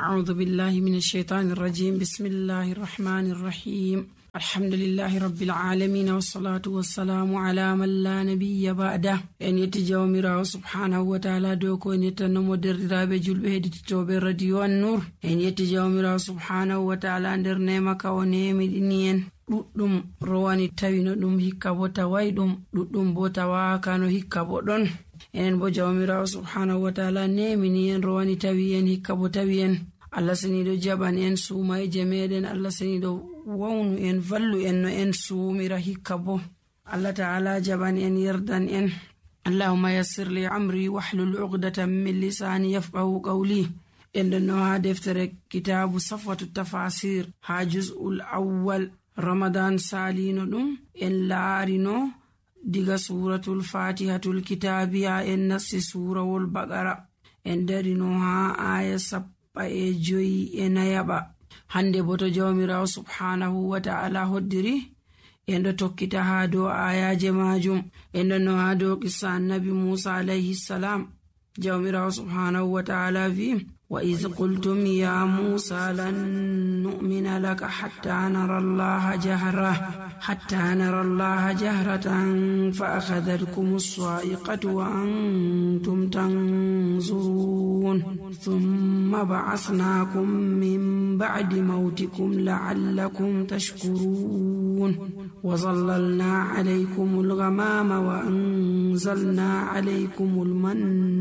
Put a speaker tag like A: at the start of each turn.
A: أعوذ بالله من الشيطان الرجيم. بسم الله الرحمن الرحيم. الحمد لله رب العالمين والصلاة والسلام على من لا نبي بعده. en yetti jawmirawo subhanahu wa ta'ala dow ko en yettannomo derdiraaɓe julɓe heɗititoɓe radio an-nur. en yetti jawmirawo subhanahu wa ta'ala nder nema ka o nemiɗini en ɗuɗɗum rowani tawi no ɗum hikka bo tawai ɗum, ɗuɗɗum bo tawaka no hikka bo ɗon. enen bo jawmirawo subhanahu wa ta'ala nemini en rowani tawi en hikka bo tawi en. Allah seniɗo jaɓan en suumayje meɗen, Allah seniɗo wawnu en vallu en no en suumira hikka bo. Allah ta'ala jaɓan en yerdan en. Allahumma yassir li amri wahlul uqdatan min lisani yafqahu qawli. en ɗon no ha deftere kitabu safwatu tafasir ha juz'ul awwal Ramadan salino ɗum en laarino diga suratul fatihatul kitabiya en nassi surawol baqara en darino ha aya 75. hande bo to jawmirawo subhanahu wa ta'ala hoddiri en ɗo tokkita ha dow ayaje majum. en ɗon no ha dow qissa annabi Musa alayhi salam. jawmirawo subhanahu wa ta'ala vi وإذ قلتم يا موسى لن نؤمن لك حتى نرى الله جهرة فأخذتكم الصاعقة وأنتم تنظرون ثم بعثناكم من بعد موتكم لعلكم تشكرون وظللنا عليكم الغمام وأنزلنا عليكم المن